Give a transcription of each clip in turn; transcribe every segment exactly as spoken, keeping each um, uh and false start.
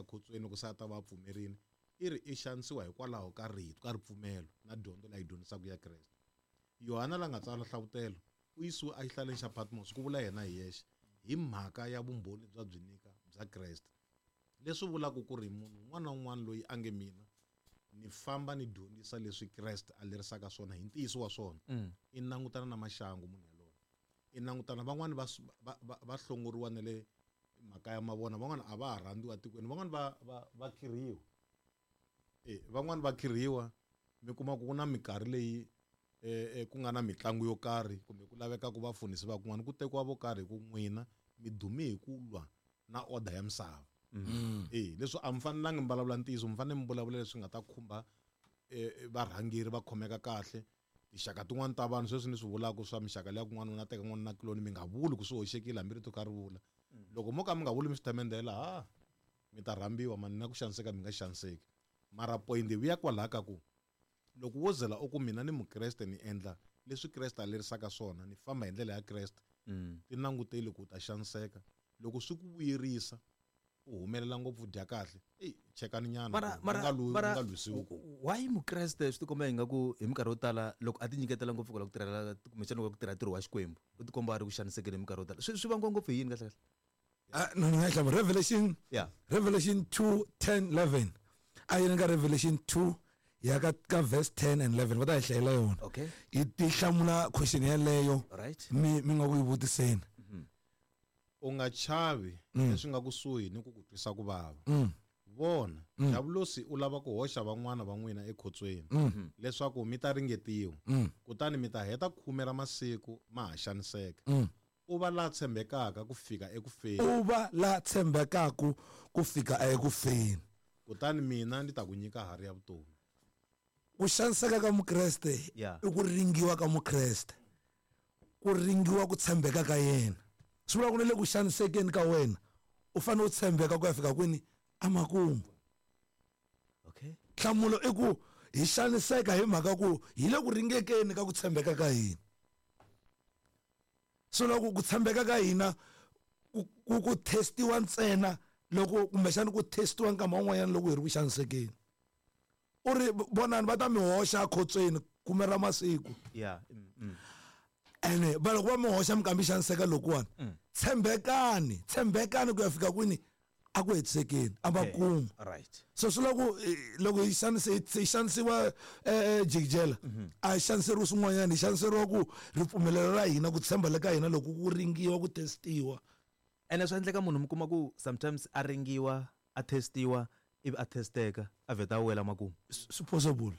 ya khotsweni loko se a ta va pfumerini i ri i xanisiwa hikwalaho ka rito ka ripfumelo na dyondzo leyi dyondzisaka ya Kreste. Yohana la nga tsala hlavutelo u yisiwe exihlaleni xa Patmos ku vula yena hi yexe hi mhaka ya vumbhoni bya byi nyika bya Kreste. Leswi vulaka ku ri munhu un'wana na un'wana loyi a nge mina ni famba ni dyondzisa leswi Kreste a lerisaka swona hi ntiyiso wa swona i langutana na maxangu munhu yaloye. I langutana van'wani va va va hlongoriwa na le makaya ma vona van'wana a va ha rhandziwa tikweni van'wana va va va khirhiwa. Eh van'wana va khirhiwa mi kuma ku na minkarhi leyi eh ku nga na mitlangu yo karhi kumbe ku laveka ku vafundhisi va kun'wana ku tekiwa vo karhi ku n'wina mi dume hi ku lwa na order ya misava. Eh leswi a mi fanelangi mi vulavula ntiyiso mi fanele mi vulavula leswi nga ta khumba varhangeri va khomeka kahle tinxaka tin'wana ta vanhu sweswi ni swi vulaka swa mixaka leya kun'wana na teka n'wana na kuloni mi nga vuli ku swi hoxekile hambi rito ka ri vula. Loko mo ka mi nga vuli mi swi themendela ha mi ta rhambiwa mani na ku xaniseka mi nga xaniseki. Mara point yi vuya kwalaha ka ku loko wo zela u ku mina ni mukreste ni endla leswi Kreste a lerisaka swona ni famba hi ndlela ya Kreste ti languteli ku ta xaniseka loko swi ku vuyerisa u humelela ngopfu dya kahle ey chekani nyana mara mara mara why mukreste swi tikomba ingaku hi minkarhi yo tala loko a ti nyiketela ngopfu ku tirhela kumbexana ku tirha ntirho wa Xikwembu u tikomba a ri ku xanisekeni hi minkarhi yo tala swi swi vangiwa ngopfu hi yini kahle kahle? Ah no no ngiyahlamba Revelation yeah Revelation two ten eleven a yi nga Revelation two ya ka ka verse ten and eleven va ta hi hlayela yona. Okay yi ti hlamula question yaleyo right mi mi nga ku yi vutiseni. U nga chavi leswi nga kusuhi ni ku ku twisa ku vava. Vona diabulosi u lava ku hoxa van'wana va n'wina ekhotsweni leswaku mi ta ringetiwa kutani mi ta heta khume ra masiku ma ha xaniseka. U va la tshembekaka ku fika ekufeni. U va la tshembekaka ku fika ekufeni. Kutani mina ndzi ta ku nyika harhi ya vutomi. Ku xaniseka ka mukreste i ku ringiwa ka mukreste. Ku ringiwa ku tshembeka ka yena. Swi vula ku le ku xanisekeni ka wena u fanele u tshembeka ku ya fika kwini amakumu. Okay nhlamulo i ku hi xaniseka hi mhaka ku hi le ku ringekeni ka ku tshembeka ka hina. So loko ku tshembeka ka hina ku ku testiwa ntsena loko kumbexana ku testiwa nkama wun'wanyana loko hi ri ku xanisekeni. U ri vonani va ta mi hoxa ekhotsweni khume ra masiku. Yeah mm. Ene va loko va mi hoxa mi kambi xaniseka lokuwani tshembekani tshembekani ku ya fika kwini a ku hetisekeni a va kuma. Right so swi loko loko hi xanise hi xanisiwa jikijela a hi xaniseriwi swin'wanyana hi xaniseriwa ku ripfumelelo ra hina ku tshemba le ka hina loko ku ringiwa ku testiwa. Ene swi endleka munhu mi kuma ku sometimes a ringiwa a testiwa ivi a testeka a vheta a wela makumu. Swi possible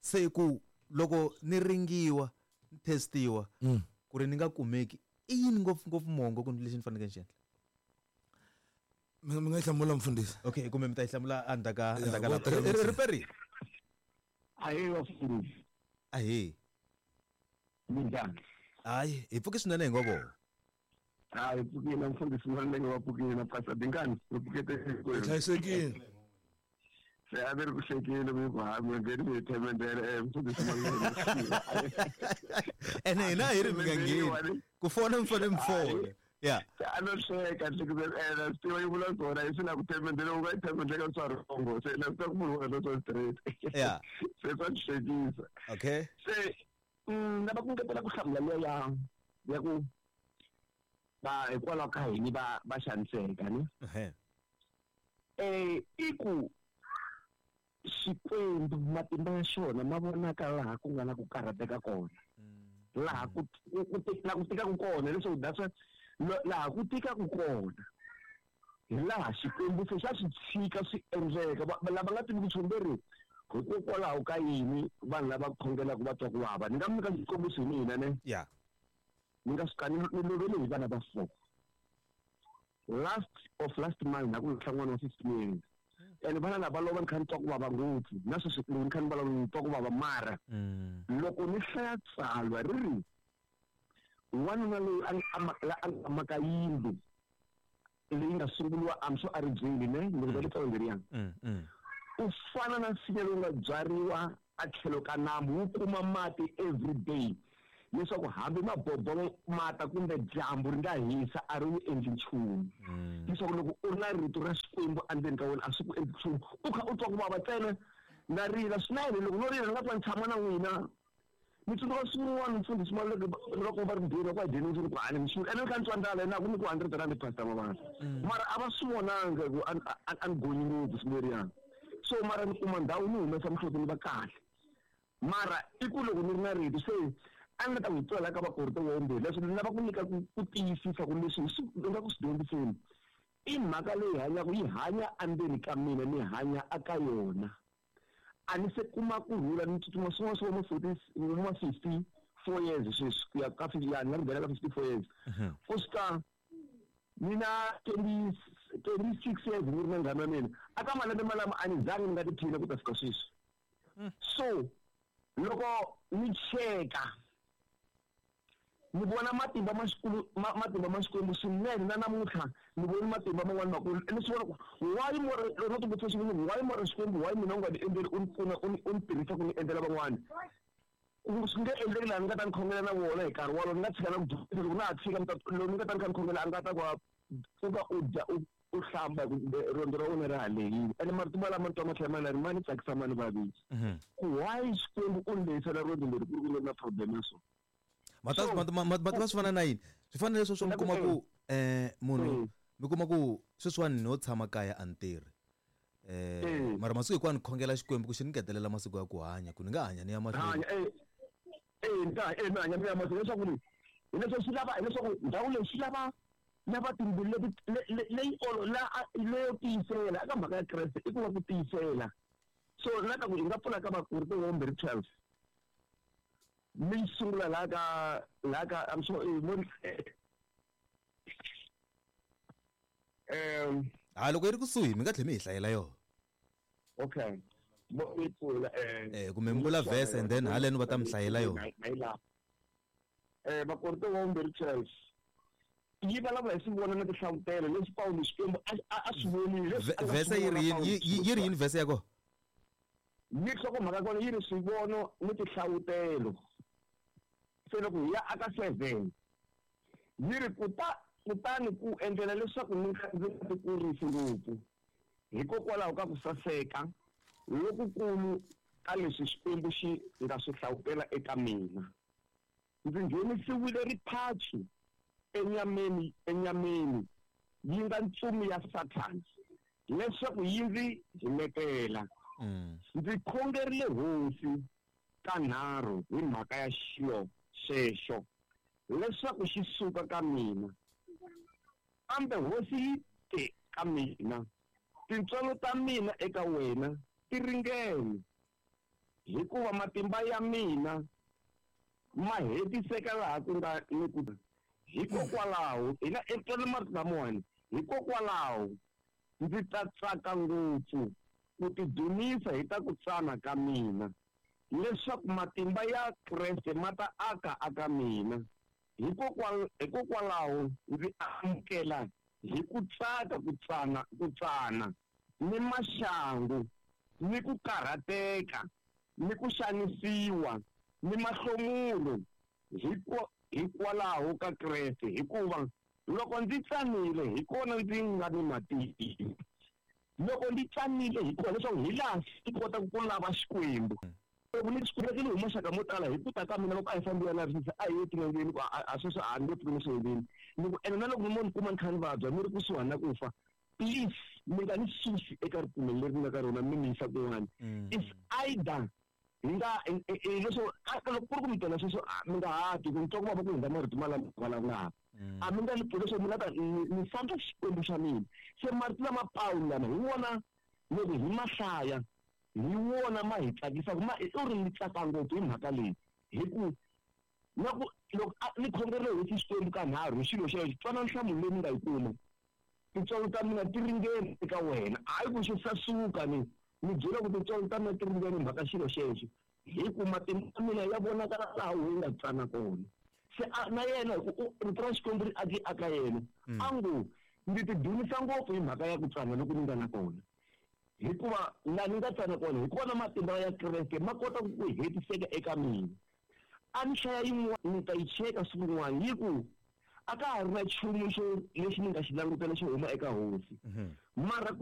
se ku loko ni ringiwa ni testiwa ku ri ni nga kumeki i yini ngopfu ngopfu mongo ku lexi ni faneleke ni xi endla? Mi nga hlamula mfundhisi. Okay kumbe mi ta yi hlamula endzhaku ka endzhaku ka riperi. Ahee vafundhisi. Ahee. Minjhani? Hayi hi pfuke swinene hi ngo vona. Hayi pfukile mfundhisi Maluleke wa pfukile na Pastor Dingani ri pfukete hinkwenu. Hlayisekile. Se a ni ri ku hlekeni mi ku ha mi ngheni mi hi themendela mfundhisi Maluleke. Ene hina hi ri mi nga ngheni ku fona mi fanele mi fona. Yeah. A no hleka hlekisa ena swi tiva yi vula swona hi swi na ku themendela u nga yi themendela swa rhongo se na swi tiva ku munhu wa swa straight. Yeah. Se swa ni hlekisa. Okay. Se lava ku ngetela ku hlamula liya ya ya ku va hikwalaho ka yini va va xaniseka ni eh i ku Xikwembu matimba ya xona ma vonaka laha ku nga na ku karhateka kona laha ku ku ku tikaka kona leswaku that's why laha ku tikaka kona hi laha Xikwembu se xa swi tshika swi endleka lava nga tivi ku tshungeri hikokwalaho ka yini vanhu lava khongelaka va twa ku vava. Ni nga mi nyika xikombiso hi mina ne yeah ni nga suka ni lovele hi vana va four last of last month na ku lahla n'wana wa fifteen years ene vana lava lova ni kha ni twa ku vava ngopfu na sweswi ni kha ni vulavula ni twa ku vava mara loko ni hlaya tsalwa ri ri wanuna loyi a a nga maka yindlu leyi nga sunguriwa I'm sure a ri byeli ne ni ri tsalwa leriya u fana na nsinya lowu nga byariwa a tlhelo ka nambu wu kuma mati every day Leswaku hambi mabobo mata kumbe dyambu ri nga hisa a ri wu endli nchumu. Leswaku loko u ri na rito ra Xikwembu endzeni ka wena a swi ku endli nchumu. U kha u twa ku vava ntsena na rila swinene loko no rila ni nga twa ni tshama na n'wina. Ni tsundzuka siku rin'wana mfundhisi Maluleke loko va ri mbirhi va dyeni ndzi ku a ni mixini ene ni kha ni twa ndlala na ku ni ku hundred rand pastor Mabasa. Mara a va swi vonanga ku a ni gonyi ngopfu siku leriyani. So mara ni kuma ndhawu ni humesa mihloti ni va kahle. Mara i ku loko ni ri na rito se a ni nga ta n'wi twela ka Vakorinto wa vumbirhi leswi ni lava ku nyika ku ku tiyisisa ku leswi hi swi nga ku swi dyondziseni i mhaka leyi hanyaka yi hanya endzeni ka mina ni hanya aka yona. A ni se kuma ku rhula ni tsutsuma swin'wana swa ma forty ma fifty four years sweswi ku ya ka fifty ya ni nga nghena ka fifty four years. Ku suka ni na twenty twenty six years ni ri na nghana wa mina aka malembe malama a ni zangi ni nga tiphina ku ta fika sweswi. So loko ni cheka ni vona matimba ma xikulu matimba ma Xikwembu swinene na namuntlha ni voni matimba man'wana makulu ni swi vona ku why more loko ti vutisa xivutiso why more Xikwembu why mina u nga ni endleli u ni pfuna u ni u ni tirhisa ku ni endlela van'wana ku swi nge endleki laha ni nga ta ni khongela na vona hi nkarhi wolowo ni nga tshika na ku dyondzisa loko na ha tshika loko ni nga ta ni kha ni khongela a nga ta ku pfuka u dya u u hlamba riendzo ra wena ra ha lehile ene marito malama ni twa ma tlhela ma ri ma ni tsakisa ma ni vavisa ku why Xikwembu u ni lehisela riendzo leri ku ri ku ri na problem ya so. Mata mata swi fana na yini swi fana leswo swo mi kuma ku eh munhu mi kuma ku sweswiwani no tshama kaya a ni tirhi eh mara masiku hinkwawo ni khongela Xikwembu ku xi ni ngetelela masiku ya ku hanya ku ni nga hanya ni ya mahlweni eh eh ni ta eh ni hanya ni ya mahlweni leswaku ni hileswaku swi lava hileswaku ndhawu leyi swi lava lava timbilu leti leyi olo la leyo tiyisela eka mhaka ya Kreste i ku va ku tiyisela. So na ka ku hi nga pfula ka Vakorinto wa vumbirhi twelve mi sungula laha ka laha ka I'm sorry mo um ha loko yi ri kusuhi mi nga tlhela mi hi hlayela yona. Okay mo yi pfula eh eh kumbe mi vula verse and then haleno va ta mi hlayela yona. Eh Vakorinto wa vumbirhi twelve yi vulavula hi swivono na tinhlavutelo leswi Pawulo Xikwembu a swi vonile. Verse yi ri yini yi ri yini verse ya kona? Ni nhlokomhaka kona yi ri swivono ni tinhlavutelo. Se loko hi ya aka seven yi ri kuta kutani ku endlela leswaku ni nga ndzi nga tikurisi ngopfu hikokwalaho ka ku saseka lokukulu ka leswi Xikwembu xi nga swi hlawutela eka mina. Ndzi nghenisiwile riphachu enyameni enyameni yi nga ntsumi ya Sathana leswaku yi ndzi himetela. Ndzi khongerile hosi kanharhu hi mhaka ya xilo xexo leswaku xi suka ka mina. Kambe hosi yi te ka mina, tintswalo ta mina eka wena ti ringene, hikuva matimba ya mina ma hetiseka laha ku nga ni ku hikokwalaho hina etwela marito lamawani hikokwalaho ndzi ta tsaka ngopfu ku tidzunisa hi ta ku tsana ka mina leswaku matimba ya Kreste ma ta aka aka mina. Hikokwalaho ndzi amukela hi ku tsaka ku tsana ku tsana ni maxangu ni ku karhateka ni ku xanisiwa ni mahlomulo hikwalaho ka Kreste, hikuva loko ndzi tsanile hi kona ndzi nga ni matimba. Loko ndzi tsanile hi kona leswaku hi laha ndzi kotaka ku lava Xikwembu. Loko ni Xikwembu ni huma xaka mo tala hi ku ta ka mina loko a hi fambi ya lavisisa a hi ye tin'angeni ku a sweswi a ni nge pfuki ni swi endleni. Ni ku ene na loko mo ni kuma ni kha ni vabya ni ri kusuhani na ku fa, please mi nga ni susi eka ripfumelo leri ni nga ka rona mi ni yisa kun'wana. It's either hi nga leswo loko ku ri ku mi twela sweswo mi nga ha twi ku ni twa ku vava ku hundza marito malama vulavulaka. A mi nga ni pfuli leswaku mi nga ta ni sandza Xikwembu xa mina. Se marito lama Pawulo lama hi wona loko hi ma hlaya hi wona ma hi tsakisaka ma u ri ni tsaka ngopfu hi mhaka leyi hi ku na ku loko ni khongerile hosi Xikwembu kanharhu hi xilo xexo twana nhlamulo leyi ni nga yi kuma. Tintswalo ta mina ti ringene eka wena hayi ku xi sasuka ni ni byela ku tintswalo ta mina ti ringene mhaka xilo xexo hi ku matimba ya mina ya vonakala laha wu nga tsana kona. Se na yena hi ku rito ra Xikwembu ri aki aka yena a ngo ndzi tidzunisa ngopfu hi mhaka ya ku tsana loko ni nga na kona, hikuva laha ni nga tsana kona hi kona matimba ya Kreste ma kota ku hetiseka eka mina. A ni hlaya yin'wana ni ta yi cheka siku rin'wana yi ku a ka ha ri na nchumu xo lexi ni nga xi langutela xo huma eka hosi. Mara